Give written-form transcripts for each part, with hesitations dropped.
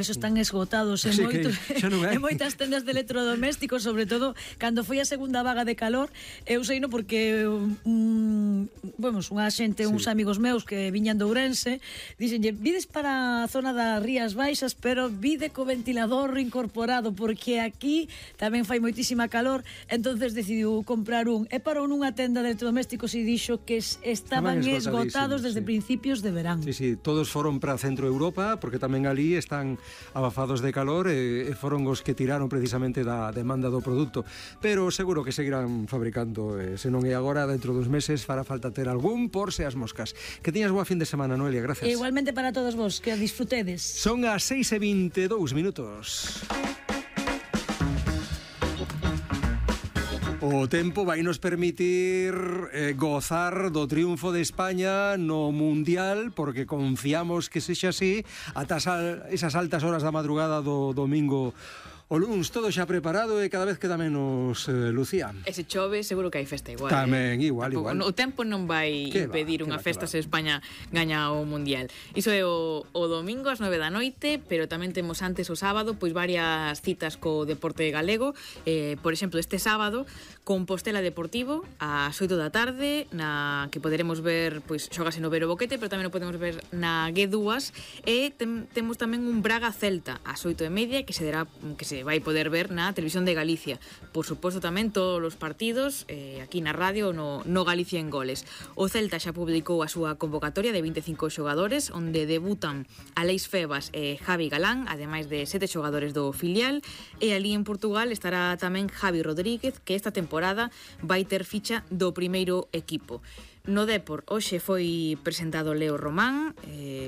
Eso están esgotados en, en moitas tendas de electrodomésticos, sobre todo cando foi a segunda vaga de calor. Eu sei porque unha xente, uns amigos meus que viñan de Ourense, dixenlle, vides para a zona das Rías Baixas, pero vide co ventilador incorporado, porque aquí tamén fai moitísima calor. Entonces decidiu comprar e parou nunha tenda de electrodomésticos e dixo que estaban esgotados desde principios de verán. Sí, todos foron para Centro Europa, porque tamén ali están abafados de calor e foron os que tiraron precisamente da demanda do produto, pero seguro que seguirán fabricando, se non é agora, dentro dos meses fará falta ter algún por se as moscas. Que tiñas boa fin de semana, Noelia, gracias. Igualmente para todos vos, que disfrutedes. Son as 6:22 minutos. O tempo vai nos permitir gozar do triunfo de España no Mundial, porque confiamos que sexa así ata esas altas horas da madrugada do domingo o luns. Todo xa preparado e cada vez queda menos, Lucía. E se chove, seguro que hai festa igual. Tamén, igual. O tempo non vai impedir unha festa se España gaña o Mundial. Iso é o domingo ás 9 da noite, pero tamén temos antes o sábado pois varias citas co deporte galego. Por exemplo, este sábado, Compostela Deportivo ás 8 da tarde, na que poderemos ver, pois xogase no Vero Boquete, pero tamén o podemos ver na G2, e temos tamén un Braga Celta ás 8:30 que se vai poder ver na Televisión de Galicia. Por suposto tamén todos os partidos aquí na radio no Galicia en Goles. O Celta xa publicou a súa convocatoria de 25 xogadores, onde debutan Aleix Febas e Javi Galán, ademais de 7 xogadores do filial, e ali en Portugal estará tamén Javi Rodríguez, que esta temporada vai ter ficha do primeiro equipo. No Depor, hoxe foi presentado Leo Román,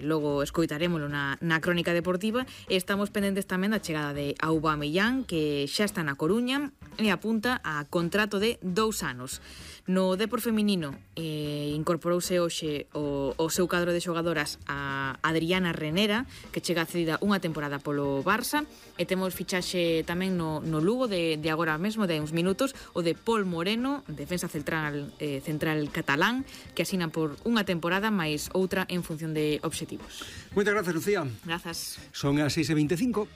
logo escoitarémolo na crónica deportiva, e estamos pendentes tamén da chegada de Aubameyang, que xa está na Coruña e apunta a contrato de 2 anos. No Depor feminino incorporouse hoxe o seu cadro de xogadoras a Adriana Renera, que chega cedida unha temporada polo Barça, e temos fichaxe tamén no Lugo de agora mesmo, de uns minutos, o de Pol Moreno, defensa central catalán, que asinan por unha temporada máis outra en función de obxectivos. Moitas gracias, Lucía. Grazas. Son as 6:25.